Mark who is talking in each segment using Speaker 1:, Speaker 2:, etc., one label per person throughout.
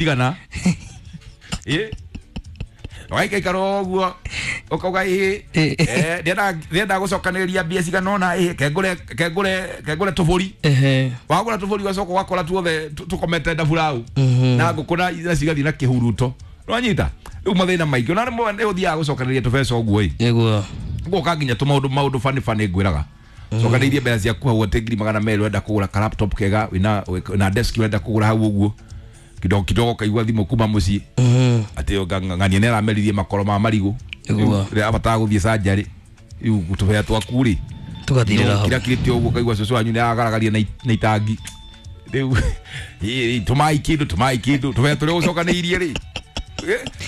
Speaker 1: Igana ĩ waikaikara ũguo ũkauga ĩ ndĩrenda gũcokanĩrĩria mbia cigana ũna ĩ kengũre tũbũri. Wagũra tũbũri ũgacoka ũgakora tuothe tũkomete ndaburau na ngũkũ na cigathiĩ na kĩhuruto. Nĩwanyita? Rĩu mathĩna maingĩ ona rĩmwe nĩ ũthiaga gũcokanĩrĩria tũbeca ũguo ĩ.
Speaker 2: Nĩguo.
Speaker 1: Gũka nginya tũmaũndũ maũndũ bani bani ngwĩraga. Cokanĩirie mbeca ciaku hau atĩ 200,000 ũrenda kũgũra ka laptop kega wĩna desk ũrenda kũgũra hau ũguo. Kidogo kidogo kaigua thimũ kuma mũciĩ. Atĩ ng'ania nĩ arameririe makoro ma marigũ.
Speaker 2: Nĩguo.
Speaker 1: Rĩrĩa abataraga gũthiĩ surgery. Rĩu tũbea twaku rĩ.
Speaker 2: Tũgathirĩra hau.
Speaker 1: Kirakirĩte ũguo kaigua cũcũ wanyu nĩ aragaragaria na itangi. Rĩu tũmai kĩndũ tũmai kĩndũ tũbea tũrĩa ũcokanĩirie rĩ.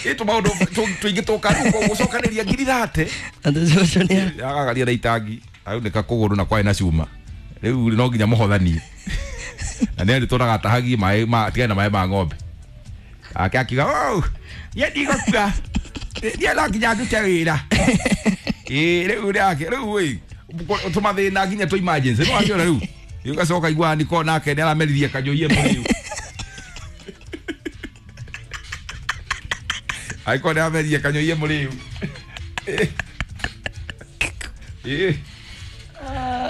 Speaker 1: Ĩ tũmaũndũ tũingĩ tũka gũcokanĩria 30,000.
Speaker 2: Atĩ cũcũ nĩ
Speaker 1: Agaragaria na itangi. Aunĩka kũgũrũ na kwarĩ na cuma. Rĩu no nginya mũhothanie. Na nĩ arĩtũraga atahagie maĩ ma tigane na maĩ ma ng'ombe. Ake akiuga, "Oh, niĩ ndigũkua. Niĩ no nginya ndute wĩra." Ĩ rĩu nake rĩu ĩ tũmathĩna nginya tũ emergency. Nĩ wakĩona rĩu. Rĩu gacoka igua niko nake nĩ arameririe kanjoiye mũrĩu. Angĩkorwo nĩ arameririe kanjoiye mũrĩu. Ĩ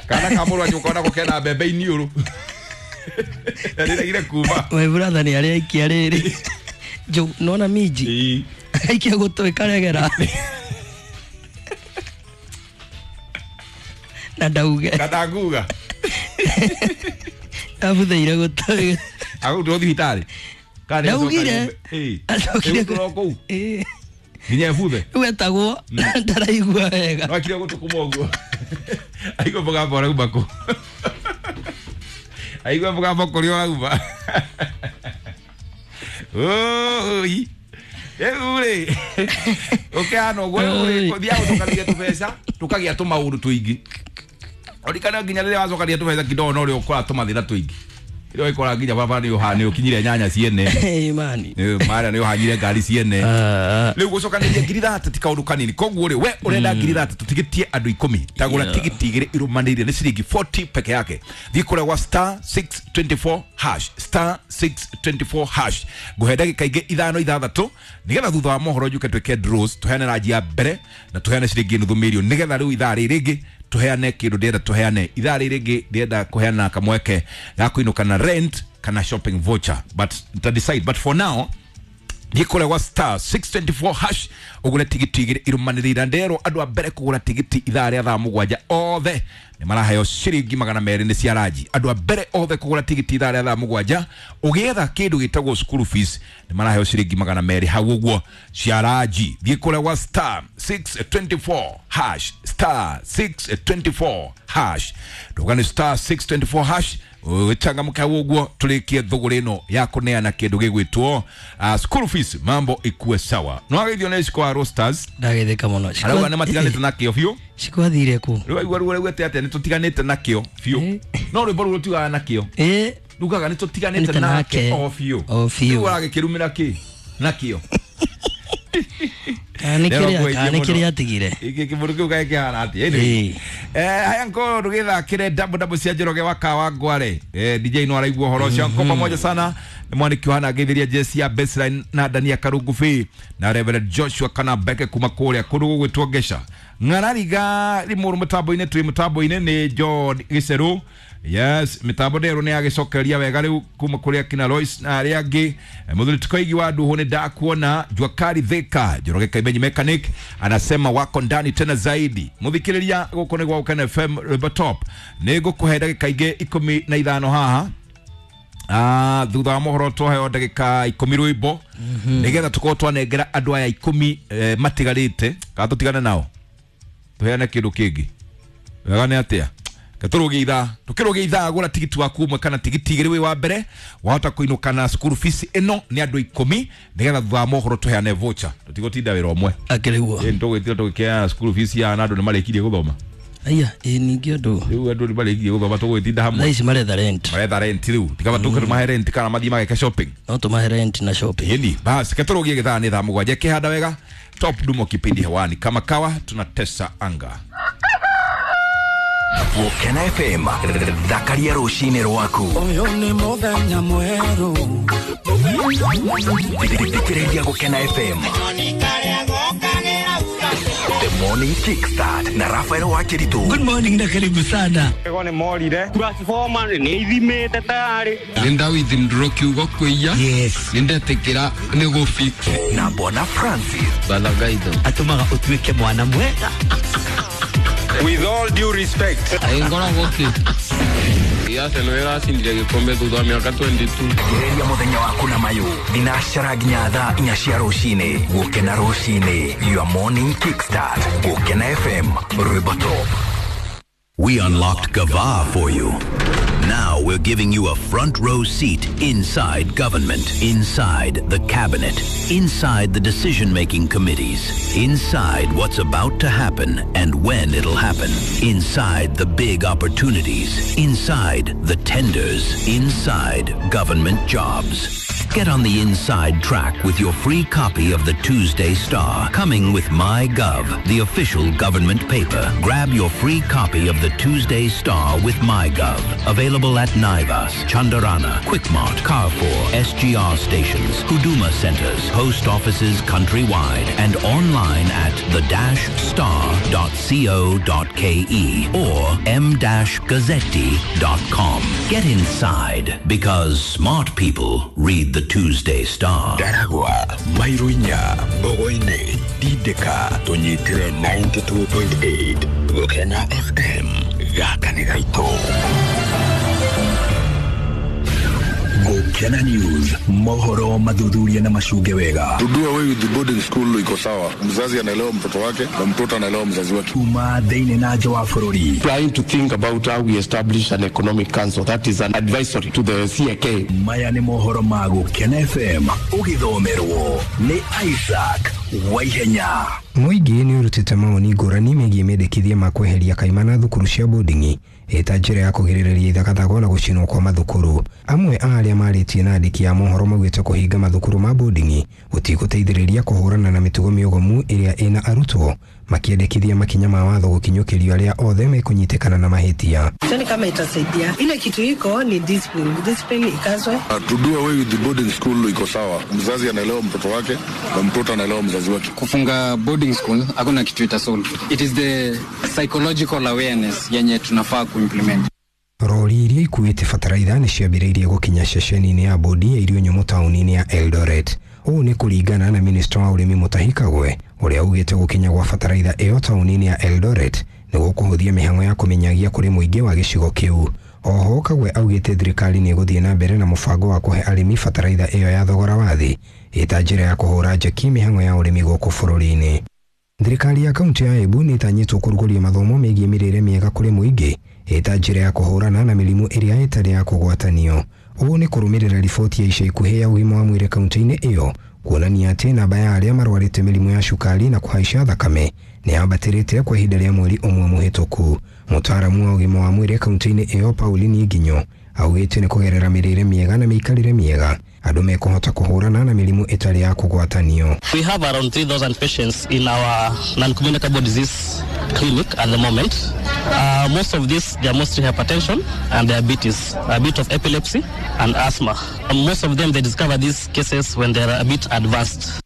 Speaker 1: kana ka mũrũ wanyu ũkona kena mbembe iniũrũ. Nĩregire kuma.
Speaker 2: My brother nĩ arĩa aikia rĩrĩ. Nona minji. Aikia gũtũ ĩkaregera. Na ndauge.
Speaker 1: Kana nguga.
Speaker 2: Abutheire gũtũ.
Speaker 1: Agũtwo thibitarĩ.
Speaker 2: Ndaugire.
Speaker 1: Acokire kũu. Nginya ebuthe.
Speaker 2: Rĩu etagwo ndaraigua wega.
Speaker 1: No akire gũtũ kuma ũguo. Aigua mũgambo ũrauma kũ. Aigua mũgambo kũrĩa ũrauma. Oi. Rĩu rĩ ũkĩhana ũguo rĩu rĩ ũthiaga gũcokanĩria tũbeca tũkagĩa tũmaũndũ tũingĩ. Ũrikana nginya rĩrĩa wacokanĩria tũbeca kidogo no rĩo ũkora tũmathĩna tũingĩ. Rĩrĩa ũgĩkora nginya baba nĩ ũkinyire nyanya ciene.
Speaker 2: Mani.
Speaker 1: Marĩa nĩ ũhanyire ngari ciene. Rĩu gũcokanĩria 30,000 ti kaũndũ kanini. Koguo rĩ we ũrenda 30,000 tũtigĩtie andũ 10. Tagũra tigiti 2 irũmanĩrĩire nĩ ciringi 40 peke yake. Thiĩ kũrĩa gwa star 624 hash star 624 hash. Ngũhe ndagĩka ingĩ 5 6 nĩgetha thutha wa mohoro njuke twĩke draws tũheane ranji ya mbere na tũheane ciringi 500,000 nĩgetha rĩu ithaa rĩrĩ rĩngĩ tũheane kĩndũ ndĩrenda tũheane ithaa rĩrĩ rĩngĩ ndĩrenda kũheana kamweke ga kũinũka na rent kana shopping voucher but to decide but for now thiĩ kũrĩa gwa star 624 hash ũgũre tigiti 2 irũmanĩrĩire nderwo andũ a mbere kũgũra tigiti ithaa rĩa thaa 7 othe nĩ maraheo ciringi 200 nĩ cia ranji. Andũ a mbere othe kũgũra tigiti ithaa rĩa thaa 7 ũgĩetha kĩndũ gĩtagwo school fees nĩ maraheo ciringi 200 hau ũguo cia ranji. Thiĩ kũrĩa gwa star 624 hash star 624 hash ndũgane star 624 hash ũchangamke hau ũguo tũrĩkie thũgũrĩ ĩno ya kũneana kĩndũ gĩgwĩtwo school fees mambo ikue sawa. No ageithio nĩ Shiko wa Roasters.
Speaker 2: Ndagetheka mũno.
Speaker 1: Arauga nĩ matiganĩte nakĩo biũ.
Speaker 2: Shiko athire kũ?
Speaker 1: Rĩu aigua ruo rĩu atĩ nĩ tũtiganĩte nakĩo biũ. No rwĩmbo rũu rũtiugaga nakĩo. Rugaga nĩ tũtiganĩte nake o biũ.
Speaker 2: O biũ.
Speaker 1: Rĩu aragĩkĩrumĩra kĩ? Nakĩo.
Speaker 2: Kana nĩ kĩrĩa atigire.
Speaker 1: Kĩmũndũ kĩu kaĩ kĩhana atĩa? Haya nko ndũgĩthakĩre double double cia Njoroge wa Kawa Ngware. DJ no araigua ũhoro ũcio. Nko pamoja sana nĩ mwanĩki ũhana ngeithĩria Jesse ya Baseline na Dania Karungu na Reverend Joshua kana Beke kuma kũrĩa kũndũ gũgwĩtwo Ngeca. Ng'arariga rimũrũ mũtambo-inĩ twĩ mũtambo-inĩ nĩ John Gĩcerũ. Yes, mitambo nderwo nĩ yagĩcokereria wega rĩu kuma kũrĩa kina Lois na arĩa angĩ. Mũthuri Tikoigi wa Nduhu nĩ ndakuona. Juakari Thika Njoroge Kaimenyi Mechanic anasema wako ndani tena zaidi. Mũthikĩrĩria gũkũ nĩ gwa Ukene FM Rwĩmbo Top. Nĩ ngũkũhe ndagĩka ingĩ 15 haha. Thutha wa mohoro twaheo ndagĩka 10 rwĩmbo nĩgetha tũkorwo twanengera andũ aya 10 matigarĩte kana tũtigane nao tũheane kĩndũ kĩngĩ. Wega nĩ atĩa? Tũrũgie ithaa tũkĩrũgie ithaa gũra tigiti waku ũmwe kana tigiti 2 wĩ wa mbere wahota kũinũka na school fees ĩno nĩ andũ 10 nĩgetha thutha wa mohoro tũheane voucher tũtigũtinda wĩra ũmwe.
Speaker 2: Akĩrĩguo.
Speaker 1: Ĩ nĩtũgwĩtire tũgĩkĩheana school fees ya na andũ nĩ marĩkirie gũthoma.
Speaker 2: Aya ĩ ningĩ andũ.
Speaker 1: Rĩu andũ nĩ marĩkirie gũthoma tũgwĩtinda hamwe.
Speaker 2: Thaa ici maretha rent.
Speaker 1: Maretha rent rĩu tikaba tũke tũmahe rent kana mathiĩ mageke shopping.
Speaker 2: No tũmahe rent na shopping.
Speaker 1: Ĩni basi ketũrũgie gĩthaa nĩ thaa 7 kĩhanda wega. Top Dumo kipindi hewani kama kawa tunatesa anga.
Speaker 3: Gũkena FM, thakaria rũcinĩ rwaku.
Speaker 4: Ũyũ nĩ mũthenya mwerũ.
Speaker 3: Thikĩrĩria Gũkena FM. The Morning Kickstart na Rafael Wakiritu.
Speaker 4: Good morning na karibu sana.
Speaker 5: Ego nĩ morire. Transformer nĩ ithimĩte tayari.
Speaker 6: Nĩ kiugo kwĩia.
Speaker 4: Yes.
Speaker 6: Nĩ ndetikĩra nĩ gũ-fix.
Speaker 3: Na Bwana Francis.
Speaker 6: Balagaitho.
Speaker 4: Atũmaga ũtuĩke mwana mwega.
Speaker 5: With all due respect.
Speaker 6: Ngoragwo kĩ. Arsenal ĩracindire gĩkombe thutha wa mĩaka 22.
Speaker 3: Gereria mũthenya waku na mayũ thinacara nginya thaa 4 cia rũcinĩ. Gũkena rũcinĩ, your morning kickstart. Gũkena FM, rwĩmbo top.
Speaker 7: We unlocked Gava for you. Now we're giving you a front row seat inside government, inside the cabinet, inside the decision-making committees, inside what's about to happen and when it'll happen, inside the big opportunities, inside the tenders, inside government jobs. Get on the inside track with your free copy of the Tuesday Star, coming with MyGov, the official government paper. Grab your free copy of the Tuesday Star with MyGov. Available at Naivas, Chandarana, Quickmart, Carrefour, SGR stations, Huduma centers, post offices countrywide, and online at the-star.co.ke or m-gazzetti.com. Get inside because smart people read the Tuesday Star.
Speaker 8: Ndaragwa, Mairunya, Bogoine, Dideka, tũnyitĩre 92.8 Gũkena FM, gaka nĩ gaitũ. Gũkena News, mohoro mathuthuria na macunge wega.
Speaker 9: To do away with the boarding school iko sawa. Mzazi anaelewa mtoto wake na mtoto anaelewa mzazi wake.
Speaker 8: Kuma thĩinĩ na nja wa bũrũri.
Speaker 10: Trying to think about how we establish an economic council that is an advisory to the CAK.
Speaker 8: Maya nĩ mohoro ma Gũkena FM, ũgĩthomerwo nĩ Isaac Waihenya.
Speaker 11: Mũingĩ nĩ ũrutĩte mawoni ngũrani megiĩ mendekithia ma kweheria kaimana thukuru cia boarding ĩta njĩra ya kũgirĩrĩria ithagathago na gũcinwo kwa mathukuru. Amwe a arĩa marĩtie na andĩki a mohoro maugĩte kũhinga mathukuru ma boarding gũtigũteithĩrĩria kũhũrana na mĩtugo mĩogomu ĩrĩa ĩna arutwo, makĩendekithia makinya ma watho gũkinyũkĩrio arĩa othe mekũnyitĩkana na mahĩtia.
Speaker 12: Sioni kama itasaidia. Ile kitu iko ni discipline. Discipline ikazwe.
Speaker 9: To do away with the boarding school iko sawa. Mzazi anaelewa mtoto wake na mtoto anaelewa mzazi wake.
Speaker 13: Kufunga boarding school hakuna kitu itasolve. It is the psychological awareness yenye tunafaa kuimplement.
Speaker 11: Rori iria ikuĩte bataraitha nĩ ciambĩrĩirie gũkinya ceceni-inĩ ya bodi ya irio nyũmũ taũni-inĩ ya Eldoret. Ũũ nĩ kũringana na minista wa ũrĩmi Mutahi Kagwe ũrĩa augĩte gũkinya gwa bataraitha ĩyo taũni-inĩ ya Eldoret nĩ gũkũhũthia mĩhang'o ya kũmenyagia kũrĩ mũingĩ wa gĩcigo kĩu. Oho Kagwe augĩte thirikari nĩ ĩgũthiĩ na mbere na mũbango wa kũhe arĩmi bataraitha ĩyo ya thogora wa thĩ ĩta njĩra ya kũhũra njeki mĩhang'o ya ũrĩmi gũkũ bũrũri-inĩ. Thirikari ya kaunti ya Embu nĩ ĩtanyĩtwo kũrugũria mathomo megiĩ mĩrĩre mĩega kũrĩ mũingĩ ĩta njĩra ya kũhũrana na mĩrimũ ĩrĩa ĩtarĩ ya kũgwatanio. Ũũ nĩ kũrũmĩrĩra riboti ya ica ikuhĩ ya ũgima wa mwĩrĩ kaunti-inĩ ĩyo kuonania atĩ namba ya arĩa marwarĩte mĩrimũ ya cukari na kũhaica thakame nĩ yambatĩrĩte kwa ihinda rĩa mweri ũmwe mũhĩtũku. Mũtaaramu wa ũgima wa mwĩrĩ kaunti-inĩ ĩyo Pauline Nginyo augĩte nĩ kũgerera mĩrĩre mĩega na mĩikarĩre mĩega andũ mekũhota kũhũrana na mĩrimũ ĩtarĩ ya kũgwatanio.
Speaker 14: We have around 3,000 patients in our non-communicable disease clinic at the moment. Most of these, they are mostly hypertension and diabetes, a bit of epilepsy and asthma. And most of them, they discover these cases when they are a bit advanced.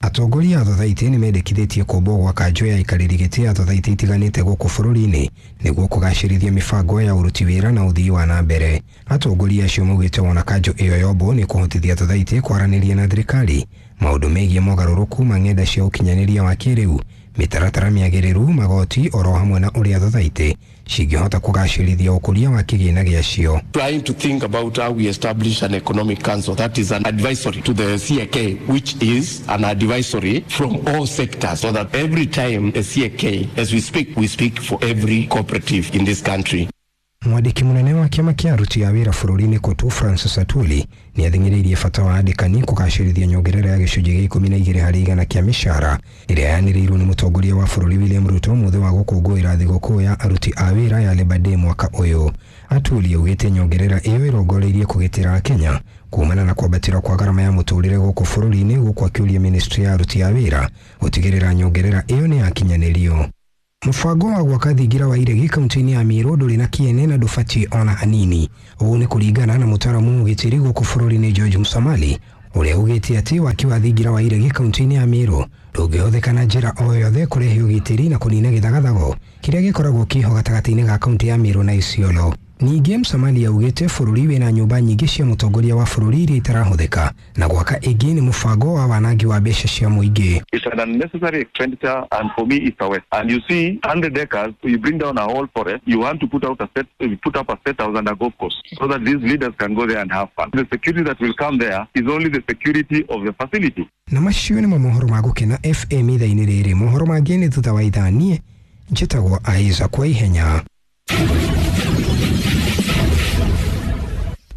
Speaker 11: Atongoria a thothaitĩ nĩ mendekithĩtie kũmbwo gwa kanjũ ya aikarĩri gĩtĩ ya thothaitĩ itiganĩte gũkũ bũrũri-inĩ nĩguo kũgacĩrithia mĩbango ya ũruti wĩra na ũthii wa na mbere. Atongoria acio maugĩte wona kanjũ ĩyo yombwo nĩ kũhotithia thothaitĩ kwaranĩria na thirikari maũndũ megiĩ mogarũrũku ma ng'enda cia ũkinyanĩria wa kĩrĩu, mĩtaratara mĩagĩrĩru, magoti oro hamwe na ũrĩa thothaitĩ cingĩhota kũgacĩrithia ũkũria wa kĩgĩna gĩacio.
Speaker 10: Trying to think about how we establish an economic council that is an advisory to the CAK, which is an advisory from all sectors, so that every time a CAK, as we speak for every cooperative in this country.
Speaker 11: Mwandĩki mũnene wa kĩama kĩa aruti a wĩra bũrũri-inĩ KOTU Francis Atwoli nĩ athing'ĩrĩirie bata wa andĩkani kũgacĩrithia nyongerera ya gĩcunjĩ gĩa 12 harĩ igana kĩa mĩcara ĩrĩa yanĩrĩirwo nĩ mũtongoria wa bũrũri William Ruto mũthĩ wa gũkũngũĩra thigũkũ ya aruti a wĩra ya Labour Day mwaka ũyũ. Atwoli augĩte nyongerera ĩyo ĩrongoreirie kũgitĩra Kenya kumana na kwambatĩra kwa gharama ya mũtũrĩre gũkũ bũrũri-inĩ, gũkũ akĩũria ministry ya aruti a wĩra gũtigĩrĩra nyongerera ĩyo nĩ yakinyanĩrio. Mũbango wa gwaka thingira wa iregi kaunti-inĩ ya Meru ndũrĩ na kĩene na ndũbatiĩ ona hanini. Ũũ nĩ kũringana na mũtaaramu ũgitĩri gũkũ bũrũri-inĩ George Musamali, ũrĩa ugĩte atĩ waki wa thingira wa iregi kaunti-inĩ ya Meru ndũngĩhũthĩka na njĩra o yothe kũrehe ũgitĩri na kũnina gĩthagathago kĩrĩa gĩkoragwo kĩho gatagatĩ-inĩ ga kaunti ya Meru na Isiolo. Ningĩ Musamali augĩte bũrũri wĩna nyũmba nyingĩ cia mũtongoria wa bũrũri iria itarahũthĩka na gwaka ĩngĩ nĩ mũbango wa wanangi wa mbeca cia mũingĩ.
Speaker 15: It's an unnecessary expenditure, and for me, it's a waste. And you see, 100 acres, you bring down a whole forest, you want to put out a set, you put up a state house and a golf course so that these leaders can go there and have fun. The security that will come there is only the security of the facility.
Speaker 11: Na macio nĩmo mohoro ma Gũkena FM ithaa-inĩ rĩrĩ. Mohoro mangĩ nĩ thutha wa ithaa. Niĩ njĩtagwo Isaac kwa ihenya.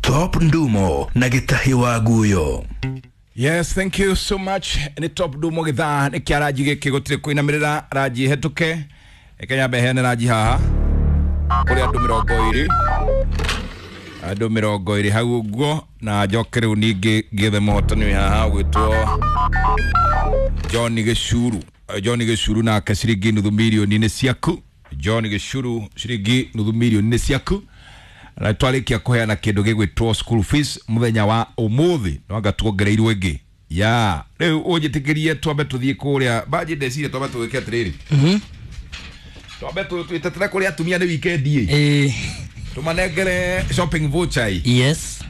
Speaker 8: Top Ndumo na Gĩtahi wa Guyo.
Speaker 1: Yes, thank you so much. Nĩ Top Ndumo gĩthaa nĩ kĩa ranji gĩkĩ gũtirĩ kũinamĩrĩra ranji hetũke. Reke nyambe heane ranji haha kũrĩ andũ 20, andũ 20 hau ũguo, na njoke rĩu ningĩ ngĩethe mũhotani wĩ haha ũgwĩtwo John Gĩcuru. John Gĩcuru nake ciringi nuthu mirioni nĩ ciaku. John Gĩcuru ciringi nuthu mirioni nĩ ciaku. Na twarĩkia kũheana kĩndũ gĩgwĩtwo school fees mũthenya wa ũmũthĩ no anga tuongereirwo ĩngĩ ya rĩu ũnjĩtĩkĩrie twambe tũthiĩ kũrĩa banji ndeciria twambe tũgĩke atĩrĩrĩ, twambe twĩtetera kũrĩa atumia nĩ weekend ĩ, tũmanengere shopping voucher ĩ.
Speaker 2: Yes,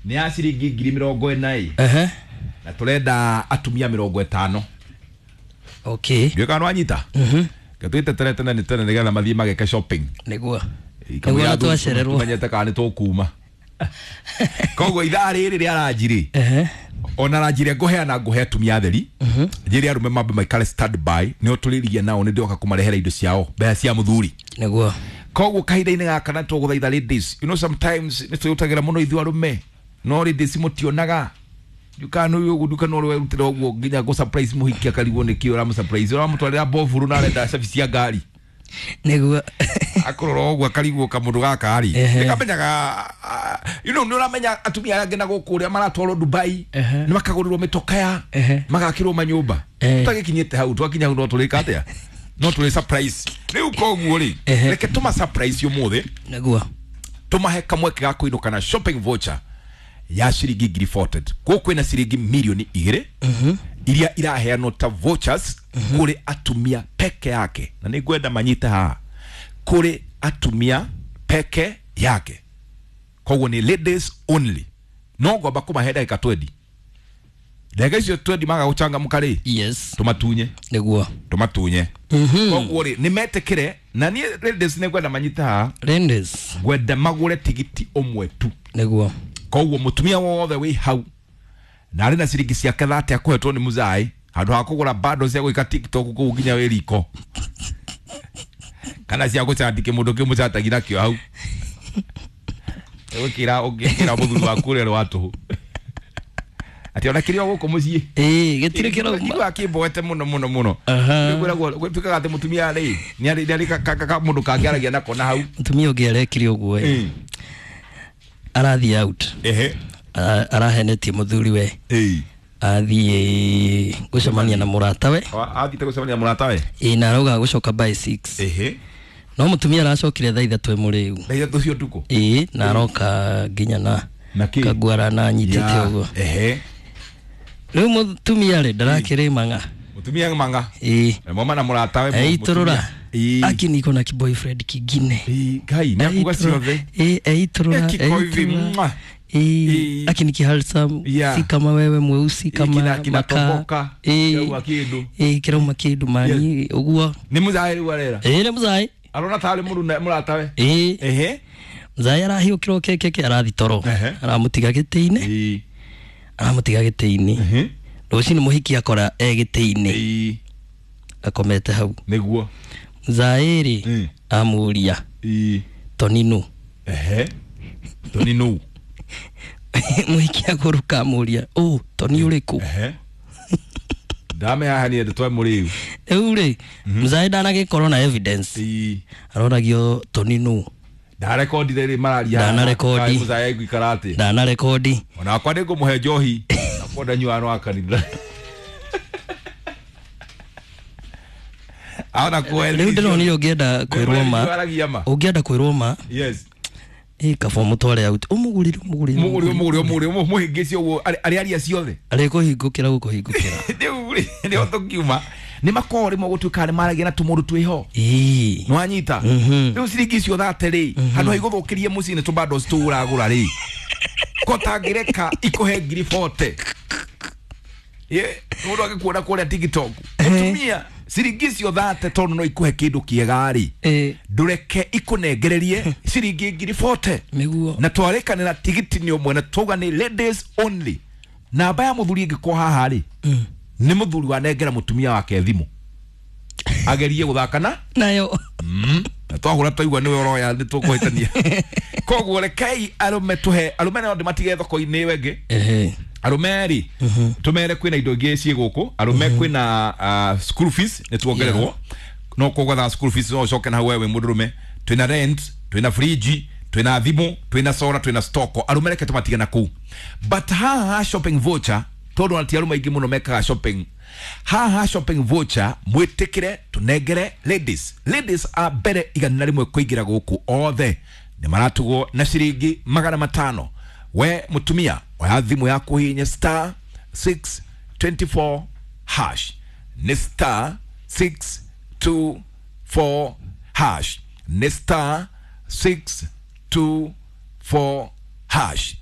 Speaker 1: nĩ ya ciringi 40,000 ĩ, na tũrenda atumia 50.
Speaker 2: Okay,
Speaker 1: ndiũĩ kana nĩwanyita. Twĩtetere tene nĩ tene nĩgetha mathiĩ mageke shopping
Speaker 2: nĩguo nĩguo twacererwo
Speaker 1: tumenyete kana nĩ tũkuma. Koguo ithaa rĩrĩ rĩa ranji rĩ, ona ranji rĩa ngũheana ngũhe atumia atheri, njĩre arũme mambe maikare stand by nĩo tũrĩrie nao nĩ ndĩroka kũmarehera indo ciao mbeca cia mũthuri
Speaker 2: nĩguo.
Speaker 1: Koguo kahinda-inĩ gaka na tũgũthaitha ladies, you know sometimes nĩ twĩrutagĩra mũno ithuĩ arũme, no ladies mũtionaga ndukano ũyũ ũguo ndukano ũrĩa werutĩra ũguo nginya gũ surprise mũhiki akarigwo nĩkĩ ũramũ surprise, ũramũtwarĩra boburu na arenda cabi cia ngari
Speaker 2: nĩguo
Speaker 1: akorora ũguo akarigwo kamũndũ gaka rĩ nĩkamenyaga, you know, nĩ ũramenya atumia arĩa angĩ na gũkũ ũrĩa maratwarwo Dubai nĩ makagũrĩrwo mĩtokaya magakĩrwo manyũmba, tũtagĩkinyĩte hau twakinya hau no tũrĩka atĩa, no tũrĩ surprise rĩu. Koguo rĩ reke tũma surprise ũmũthĩ
Speaker 2: nĩguo
Speaker 1: tũmahe kamweke ga kũinũka na shopping voucher ya ciringi 40,000. Kũu kwĩna ciringi 2 mirioni iria iraheanwo ta vouchers kũrĩ atumia peke yake, na nĩ ngwenda manyite haha, kũrĩ atumia peke yake, koguo nĩ ladies only. No ngomba kũmahe ndagĩka 20, ndagĩka icio 20 maga gũcangamũka rĩ,
Speaker 2: yes,
Speaker 1: tũmatunye
Speaker 2: nĩguo
Speaker 1: tũmatunye. Koguo rĩ nĩ metĩkĩre, na niĩ ladies nĩ ngwenda manyite haha,
Speaker 2: ladies
Speaker 1: ngwenda magũre tigiti ũmwe tu
Speaker 2: nĩguo.
Speaker 1: Koguo mũtumia wothe wĩ hau na arĩ na ciringi ciake 30 akũhetwo nĩ mũzai handũ ha kũgũra bando cia gwĩka TikTok kũu nginya wĩ riko kana cia gũcati kĩmũndũ kĩmũcatagi nakĩo hau ũgĩkĩra ũngĩkĩra mũthuri waku ũrĩa wa tũhũ atĩ ona kĩrĩa gũkũ mũciĩ
Speaker 2: ĩĩ gĩtirĩ kĩrauma
Speaker 1: kĩrĩa kĩmboete mũno mũno mũno. Nĩkwĩragwo gwĩtuĩkaga atĩ mũtumia rĩ nĩ arĩ kamũndũ kangĩaragia nako na hau.
Speaker 2: Mũtumia ũngĩ arekire ũguo ĩ, arathiĩ out, arahenetie mũthuri we, athiĩ gũcemania na mũratawe,
Speaker 1: athiĩte gũcemania na mũratawe
Speaker 2: ĩ, na arauga gũcoka by 6, no mũtumia aracokire thaa 3 mũrĩu,
Speaker 1: thaa 3 cia ũtukũ
Speaker 2: ĩ, na aroka nginya na kaguara na anyitĩte ũguo. Rĩu mũtumia rĩ ndarakĩrĩ mang'a,
Speaker 1: mũtumia mang'a
Speaker 2: ĩ,
Speaker 1: mama na mũratawe
Speaker 2: eitũrũra aki niko na kiboyfriend kingine
Speaker 1: Ngai nĩ akuga ciothe
Speaker 2: ĩ, eitũrũra eitũrũra ĩ, aki ni kihandsome, si kama wewe mweusi kama makaa ĩ, kĩrauma kĩndũ mani ũguo.
Speaker 1: Nĩ mũzaĩ rĩu arera
Speaker 2: ĩ, nĩ mũzaĩ
Speaker 1: arona tarĩ mũratawe
Speaker 2: ĩ, mũzaĩ arahiũkĩrwo kekeke arathi toro, aramũtiga gĩtĩ-inĩ, aramũtiga gĩtĩ-inĩ rũcinĩ mũhiki akora e gĩtĩ-inĩ akomete hau
Speaker 1: nĩguo.
Speaker 2: Mũzaĩ rĩ amũria Tonino,
Speaker 1: Tonino
Speaker 2: mũhiki agũrũka amũria ũ Toni ũrĩkũ,
Speaker 1: ndame haha niĩ ndĩtwe mũrĩu
Speaker 2: rĩu rĩ mũzaĩ ndanagĩkorwo na evidence, aroragio Tonino
Speaker 1: ndarekondire rĩ mararia
Speaker 2: ndanarekondi
Speaker 1: mũzaĩ aiguikara atĩ
Speaker 2: ndanarekondi
Speaker 1: onakwa nĩ ngũmũhe njohi nakwa ndanyuaga no wa kanitha. Aona kweli.
Speaker 2: Rĩu ndĩronire ũngĩenda kwĩrwo ma.
Speaker 1: Aragia ma.
Speaker 2: Ũngĩenda kwĩrwo ma.
Speaker 1: Yes.
Speaker 2: Ĩ kaba ũmũtware out. Ũmũgũrĩre ũmũgũrĩre.
Speaker 1: Mũgũrĩre ũmũgũrĩre ũmũgũrĩre mũhĩngĩce ũguo arĩ aria ciothe.
Speaker 2: Arĩkũhingũkĩra gũkũhingũkĩra.
Speaker 1: Rĩu rĩ nĩho tũkiuma. Nĩ makoragwo rĩmwe gũtuĩka nĩ maragia na tũmũndũ twĩho.
Speaker 2: Ĩĩ.
Speaker 1: Nĩwanyita? Rĩu ciringi icio thate rĩ, handũ ha igũthũkĩrie mũciĩ nĩ tũbundles tũu ũragũra rĩ. Ko tangĩreka ikũhe 40,000. Ye, mũndũ agĩkuona kũrĩa TikTok. Mũtumia ciringi icio thate tondũ no ikũhe kĩndũ kĩega rĩ. Ndũreke ikũnengererie ciringi 40,000.
Speaker 2: Nĩguo.
Speaker 1: Na twarĩkanĩra tigiti nĩ ũmwe na twauga nĩ ladies only. Namba ya mũthuri ĩngĩkorwo haha rĩ, nĩ mũthuri wanengera mũtumia wake thimũ agerie gũthaka na
Speaker 2: nayo.
Speaker 1: Na twahũra twaigua nĩwe ũroya nĩ tũkũhĩtania. Koguo rekei arũme tũhe arũme nao ndĩmatige thoko-inĩ ĩyo ĩngĩ. Arũme rĩ tũmere kwĩna indo ingĩ ciĩ gũkũ. Arũme kwĩna school fees nĩ tuongererwo, no kũgwetha school fees no ũcoke na hau wewe mũndũrũme. Twĩna rent, twĩna fridge, twĩna thimũ, twĩna solar, twĩna stock. Arũme reke tũmatige na kũu, but haha shopping voucher, tondũ ona ti arũme aingĩ mũno mekaga shopping. Haha shopping voucher mwĩtĩkĩre tũnengere ladies. Ladies a mbere 101 kũingĩra gũkũ othe nĩ maratugwo na ciringi 500. We mũtumia oya thimũ yaku hihinye star 624 hash. Nĩ star 624 hash. Nĩ star 624 hash.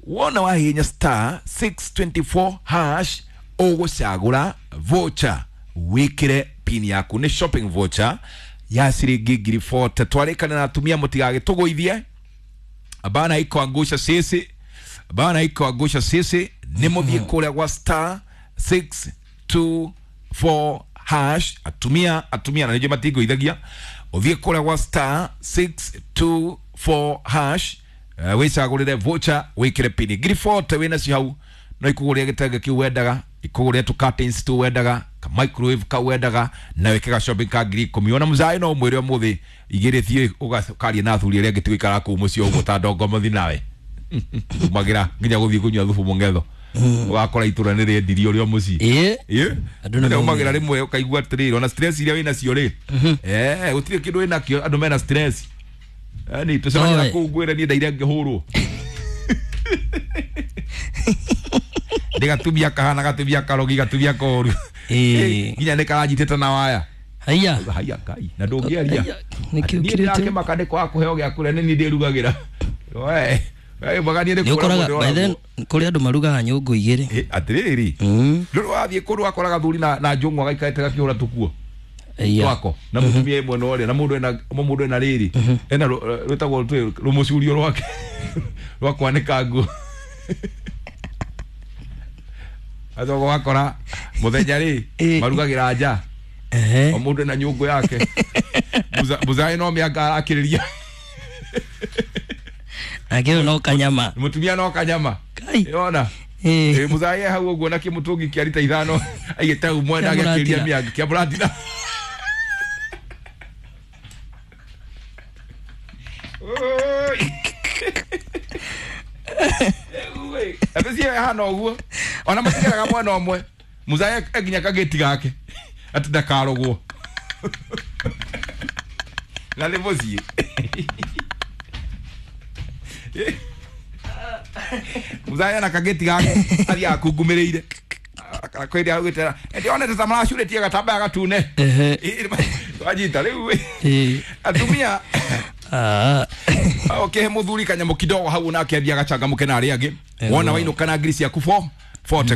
Speaker 1: Wona wahihinya star 624 hash ũgũcagũra voucher wĩkĩre pin yaku. Nĩ shopping voucher ya ciringi 40,000. Twarĩkana na atumia mũtigagĩtũgũithie bana iko angusha sisi, bana iko angusha sisi. Nĩ mũthiĩ kũrĩa gwa star 624 hash. Atumia atumia na nĩnjũĩ matingũithagia. Ũthiĩ kũrĩa gwa star 624 hash wĩcagũrĩre voucher wĩkĩre pini 40,000 wĩnacio hau no ikũgũrĩre gĩtenge kĩu wendaga, ikũgũrĩre tũ curtains tũu wendaga, ka microwave kau wendaga, na wĩke ga shopping ka 10,000. Ona mũcaĩ no ũmwĩre ũmũthĩ igĩrĩ thiĩ ũgacarie na athuri arĩa angĩ tigũikara kũu mũciĩ ũguo ta ndongo mũthi nawe umagĩra nginya gũthiĩ kũnyua thubu mũng'etho ũgakora itũra nĩ rĩendirio rĩo mũciĩ. Ĩĩ nĩ umagĩra rĩmwe ũkaigua atĩrĩrĩ ona stress iria wĩnacio rĩ, gũtirĩ kĩndũ wĩnakĩo, andũ mena stress. Yaani tũcemania na kũu ngwĩre niĩ ndaire ngĩhũrwo ndĩgatumia kahana gatumia karogi gatumia koru nginya nĩ karanyitĩte na waya.
Speaker 2: Haiya
Speaker 1: haiya kai na ndũngĩaria niĩ ndĩrakĩmaka nĩ kwaga kũheo gĩa kũrĩa nĩ niĩ ndĩrugagĩra. We we maganie nĩ
Speaker 2: kũrĩa mũndũ. By then kũrĩ andũ marugaga nyũngũ igĩrĩ.
Speaker 1: Atĩrĩrĩ ndũrĩ wathiĩ kũndũ wakoraga thuri na njũng'wa gaikarĩte gakĩhũra tũkuo twako na mũtumia ĩmwe no ũrĩa na mũndũ ena mũndũ ena rĩrĩ ena rwĩtagwo rũmũcurio rwake rwa kwanĩka nguo. Athogo wakora mũthenya rĩ marugagĩra nja o mũndũ ena nyũngũ yake. Mũzaĩ no mĩanga arakĩrĩria
Speaker 2: Akĩrĩ no kanyama.
Speaker 1: Mũtumia no kanyama. Yona. Mũzaĩ hau ũguo na kĩmũtũngi kĩa rita 5 aigĩte hau mwena agĩkĩria mĩanga kĩa mũratina. Atĩ hana ũguo ona matigaraga mwena ũmwe mũzaĩ nginya kagĩti gake atĩ ndakarogwo na nĩ mũciĩ. Mũzaĩ na kagĩti gake athiaga akungumĩrĩire kwĩrĩa augĩte ndĩonete ta maracurĩtie gatambaya gatune wanyita rĩu atumia okay muthuri kanyamũ kidogo hau nake ambia gachangamke na arĩa angĩ wona wainũka na ngiri ciaku 440.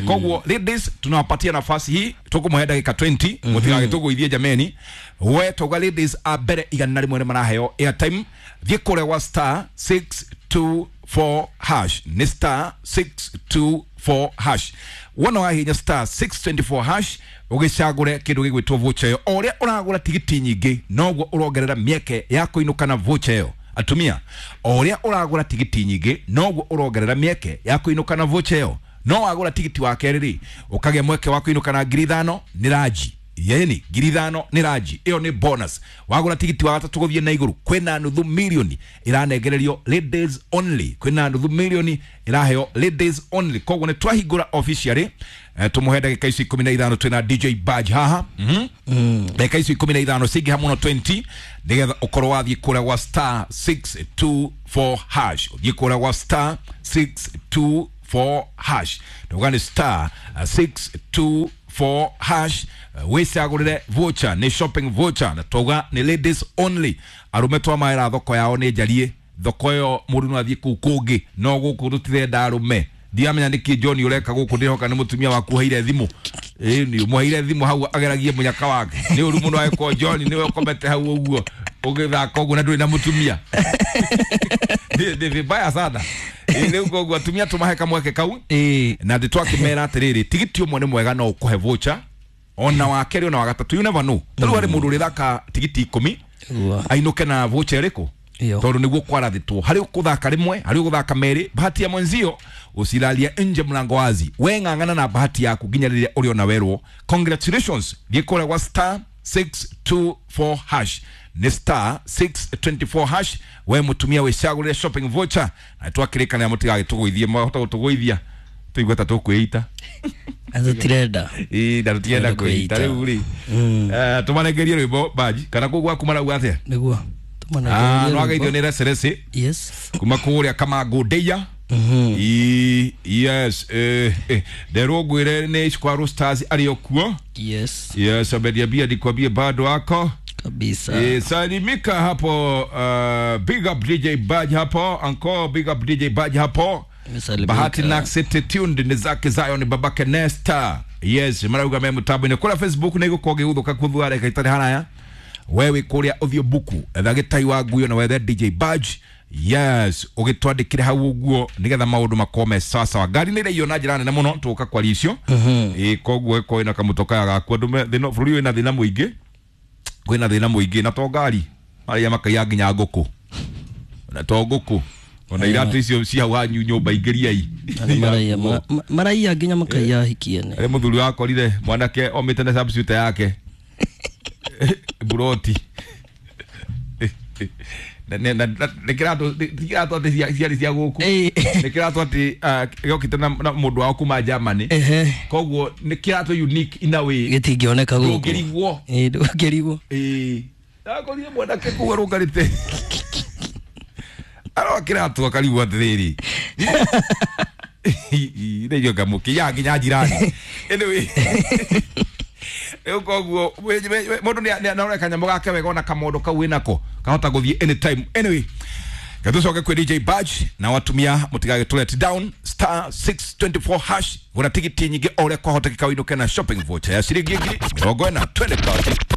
Speaker 1: Koguo ladies tunawapatia nafasi hii tukumuhe ndagĩka 20 mũtigagĩtũgũithie jameni. We tauga ladies a mbere 101 nĩ maraheo airtime. Thiĩ kũrĩa gwa star 624 hash. Nĩ star 624 hash. Wona wahinya star 624 hash ũgĩcagũre kĩndũ gĩgwĩtwo voucher ĩyo. O ũrĩa ũragũra tigiti nyingĩ noguo ũrongerera mĩeke ya kũinũka na voucher ĩyo. Atumia o ũrĩa ũragũra tigiti nyingĩ noguo ũrongerera mĩeke ya kũinũka na voucher ĩyo. No wagũra tigiti wa kerĩ rĩ ũkagĩa mweke wa kũinũka na 5,000 nĩ ranji. Yeni 5,000 nĩ ranji ĩyo nĩ bonus. Wagũra tigiti wa gatatũ gũthiĩ na igũrũ kwĩna nuthu milioni ĩranengererio ladies only, kwĩna nuthu milioni ĩraheo ladies only. Koguo nĩ twahingũra officially, tũmũhe ndagĩka ici 15 twĩna DJ Badge haha. Ndagĩka ici 15 cingĩha mũno 20 nĩgetha ũkorwo wathiĩ kũrĩa gwa star 624 hash, ũthiĩ kũrĩa gwa star 624 hash, ndauga nĩ star 624 hash, wĩcagũrĩre voucher, nĩ shopping voucher, na twauga nĩ ladies only. Arũme twamaĩra thoko yao nĩ njariĩ, thoko ĩyo mũndũ no athiĩ kũu kũngĩ, no gũkũ tũtirenda arũme. Ndiamenya nĩkĩ John ũreka gũkũ, ndĩhoka nĩ mũtumia waku ũheire thimũ. Ĩĩ nĩ ũmũheire thimũ hau ageragie mũnyaka wake. Nĩ ũru mũno agĩkorwo John nĩwe ũkomete hau ũguo ũgĩthaka ũguo na ndũrĩ na mũtumia. Nĩ vibaya sana. Rĩu koguo atumia tũmahe kamweke kau. Na ndĩ twakĩmera atĩrĩrĩ, tigiti ũmwe nĩ mwega no ũkũhe voucher ona wa kerĩ ona wa gatatũ, you never know. Ta rĩu harĩ mũndũ ũrĩthaka tigiti 10 ainũke na voucher ĩrĩkũ, tondu niguo kwarathitwo hari ukuthaka rimwe hari uguthaka meri. Bahati ya mwenzio usilalia nje mlango wazi, we ng'ang'ana na bahati yaku nginya riria uriona werwo. Congratulations, thiĩ kũrĩa gwa star 624 hash, nĩ star 624 hash, we mutumia wicagũrĩre shopping voucher na twakĩrĩkanĩra mũtigagĩtũgũithie, mwahota gũtũgũithia tũigue ta tũkwĩita.
Speaker 2: Tũtirenda.
Speaker 1: Ĩĩ na tũtirenda kwĩita rĩu rĩ. Tũmarengerie rwĩmbo Baji kana kũu gwaku marauga atĩa?
Speaker 2: Nĩguo.
Speaker 1: No ageithio nĩ recereci.
Speaker 2: Yes.
Speaker 1: Kuma kũrĩa Kamangũ Ndeia. Yes, nderwo ngwĩre nĩ Square Stars arĩ o kuo.
Speaker 2: Yes.
Speaker 1: Yes, ameniambia nikwambie bado ako
Speaker 2: kabisa.
Speaker 1: Salimika hapo, big up DJ Badge hapo, uncle big up DJ Badge hapo. Bahati na City tuned ni zake Zion babake Nesta. Yes, marauga me mutambo-inĩ kũrĩa Facebook nĩ gũkorwo gĩgũthũka kuthua reka itarĩ haraya. Wewe kũrĩa ũthiũ buku etha gĩtai wa nguyo na wethe DJ Badge. Yes, ũgĩtwandĩkĩre hau ũguo nĩgetha maũndũ makorwo me sawa sawa. Ngari nĩ ĩraiywo na njĩra nene mũno tũgũka kwaria icio. Ĩĩ koguo ĩkorwo ĩna kamũtoka gaku andũ me thĩna, bũrũri wĩna thĩna mũingĩ, kwĩna thĩna mũingĩ na to ngari marĩa makaiya nginya ngũkũ, na to ngũkũ ona iratũ icio cia hau hanyu nyũmba ingĩriai
Speaker 2: maraiya nginya makaiya hikiene.
Speaker 1: Arĩ mũthuri wakorire mwanake omĩte na substitute yake buroti nä kä ratå atä ciarä cia gå kå nä kä ratå atä gä okä te na må ndå wao kuma Germany, koguo nä kä ratå unique in a way
Speaker 2: gä tingĩoneka
Speaker 1: gå kå ndångä
Speaker 2: ndångä
Speaker 1: akorire mwanake kå arå ngarä te aroa kä ratå akarigwo atä rä rä nä irio ngamå kä ya nginya njirani. Anyway, rĩu koguo mũndũ nĩ kanyamũ gake wega ona kamondo kau wĩnako kahota gũthiĩ anytime. Anyway, gatũcoke kwĩ DJ Badge na watumia mũtigagĩtũ let down star 624 hash gũra tigiti nyingĩ o ũrĩa kwahotekeka ũinũke na shopping voucher ya ciringi 40,000 20.